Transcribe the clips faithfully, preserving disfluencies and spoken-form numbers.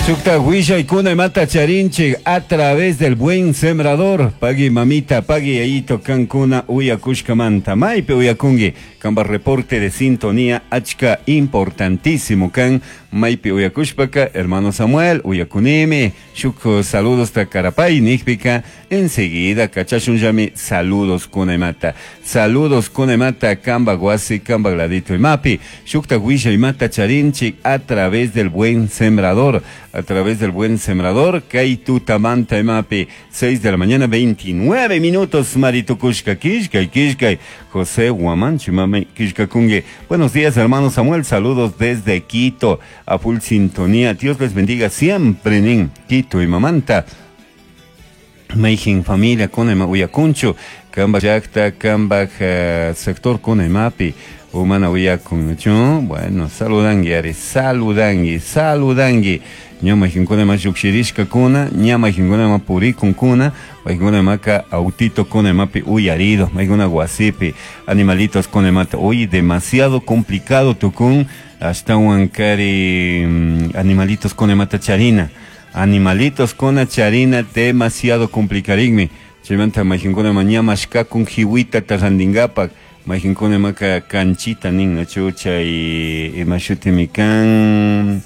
Shukta willaykuna imata charinchik a través del Buen Sembrador. Pagui mamita, pagui yayito kankuna uyakushkamanta. Maypi uyakungi kamba reporte de sintonía achka importantísimo kan. Maypi uyakushpaka hermano Samuel uyakunimi. Shuk saludos ta karapay nikpika enseguida kachashunllami saludos kuna imata. Saludos kuna imata kamba wasi kamba ladito imapi. Shukta willa imata charinchik a través del Buen Sembrador. A través del Buen Sembrador, kay tutamanta imapi, seis de la mañana, veintinueve minutos, Maritukushka, Kishkay, Kishkay, José Huamanchi, mami, Kishkakungue. Buenos días, hermano Samuel, saludos desde Quito, a full sintonía. Dios les bendiga siempre, nin, Quito y Mamanta. Meijin familia, kuna uyakunchu, kamba llakta, kamba uh, sector kuna imapi. Umana uyakunchu. Bueno, saludangui, ari, saludangui, saludangui. Ñama jinkuna ma llukshirishka kuna, ñama jinkuna ma purikun kuna, majinkuna maka autito kuna mapi uyarido, majinkuna wasipi, animalitos kuna mata. Uy, demasiado complicado tukun, hasta wankari animalitos kuna mata charina. Animalitos kuna charina, demasiado complicarigmi. Chaymanta majinkuna ma ñama shkakun jiwita tarandingapak. Majinkuna maka canchita nin, nachu chay imashutimi kan.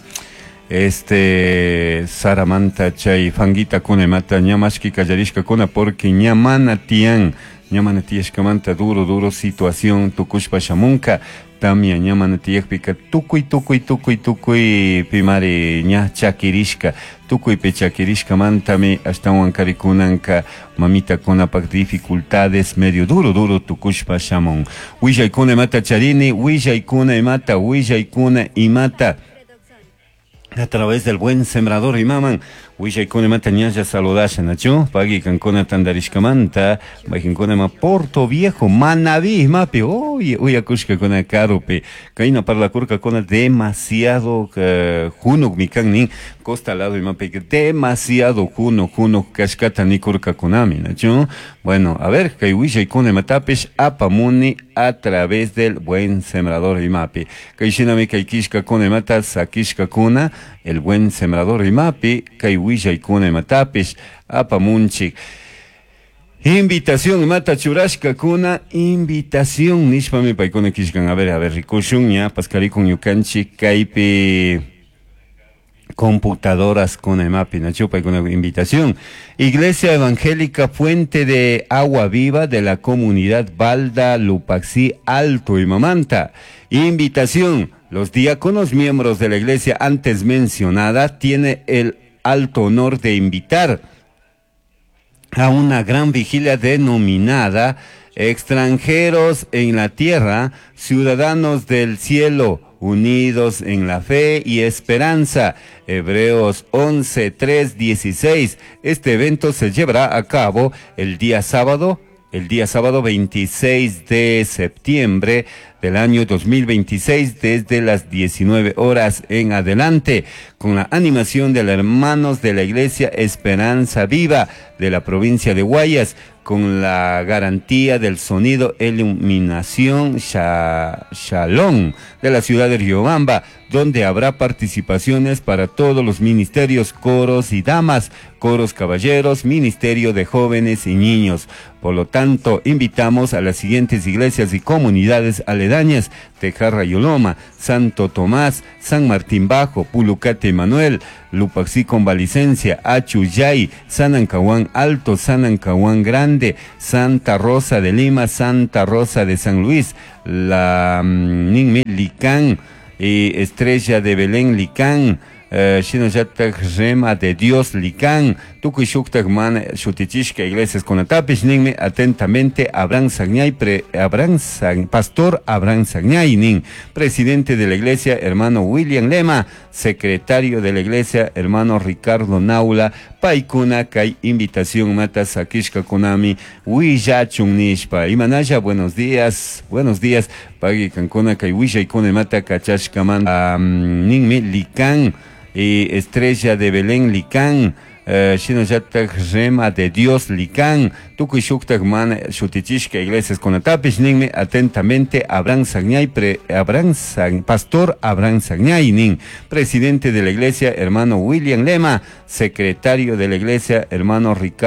Este Saramanta chay fanguita kuna mata ñamashki kallarishka kuna porque ñamana tian ñamana tiyashkamanta duro duro situación tukushpa shamunka tamia ñamana tiyakpika tukuy tukuy tukuy tukuy pimari ña chakirishka tukuy pe chakirishkamantami ashtawan karikunanka mamita kunapak dificultades medio duro duro tukushpa shamun. Willaykuna imata charini, willaykuna imata, willaykuna imata a través del Buen Sembrador y maman, willaykuna imata ñalla saludasha nachu, pagui kankuna tandarishkamanta, majinkuna ma Porto Viejo, Manabí, mapi, oye, uyakushka kuna karupi, kayna parlakurka kuna demasiado uh, junuk mikan nin, costa lado y mapi, demasiado juno, juno, kashkata nikurka kunami, nachu. Bueno, a ver, kay willaykuna imatapish apamuni a través del Buen Sembrador y mapi. Kay shinami kay kishka kuna imata, sakishka kuna, el Buen Sembrador imapi, kay willaykuna imatapish apamunchik. Invitación mata churashka kuna, invitación nishpami paykuna kishkan. A ver, a ver, rikushun ña paskarikun ñukanchik kaypi computadoras kuna imapi, nachu paykuna invitación. Iglesia Evangélica Fuente de Agua Viva de la comunidad Balda Lupaxí Alto y Mamanta. Invitación. Los diáconos miembros de la iglesia antes mencionada tiene el alto honor de invitar a una gran vigilia denominada Extranjeros en la Tierra, Ciudadanos del Cielo, unidos en la fe y esperanza. Hebreos once, tres, dieciséis. Este evento se llevará a cabo el día sábado, el día sábado veintiséis de septiembre del año dos mil veintiséis, desde las diecinueve horas en adelante, con la animación de los hermanos de la Iglesia Esperanza Viva de la provincia de Guayas, con la garantía del sonido Iluminación Shalom de la ciudad de Riobamba, donde habrá participaciones para todos los ministerios, coros y damas, coros caballeros, ministerio de jóvenes y niños. Por lo tanto, invitamos a las siguientes iglesias y comunidades aledañas: Tejarra y Oloma, Santo Tomás, San Martín Bajo, Pulucate Manuel, Lupaxí con Valicencia, Achuyay, San Ancahuán Alto, San Ancahuán Grande, Santa Rosa de Lima, Santa Rosa de San Luis, la Ninmi Licán y Estrella de Belén Licán, Shinoyatak Rema de Dios Licán, Tukuy Shuktak Man Shutichishka Iglesias Conatapis, ninmi atentamente Abraham Sagñay, pre, Abraham Sag, Pastor Abraham Sagñay, nin, presidente de la iglesia, hermano William Lema, secretario de la iglesia, hermano Ricardo Naula, Paikuna, kay invitación mata sakishka kunami, Willachun nishpa. Imanaya, buenos días, buenos días, pagui kankuna kay willaykuna mata kachashkaman, um, ninmi Licán y Estrella de Belén Licán, eh, shinallatak Rema de Dios Licán, tukuy shuktak mana shutichishka iglesias kunatapish ninmi atentamente Abraham Sagñay, pre, Abraham San, pastor Abraham Sagñay nin, presidente de la iglesia hermano William Lema, secretario de la iglesia hermano Ricardo